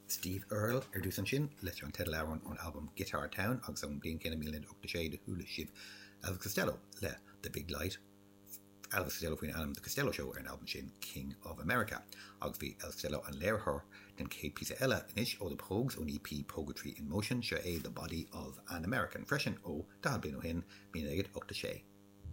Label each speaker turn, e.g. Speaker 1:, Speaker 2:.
Speaker 1: Steve Earle ar dtús ansin leis an teideal-amhrán ón albam Guitar Town agus ón mbliain chéanna 1986 do chuala sibh Elvis Costello le The Big Light, Elvis Costello faoin ainm The Costello Show ar an albam sin King of America. Agus bhí Elvis Costello an léiritheoir den chéad píosa eile anois ó The Pogues ón EP Poguetry in Motion, seo é The Body of an American freisin ó 40 bliain ó shin, 1986.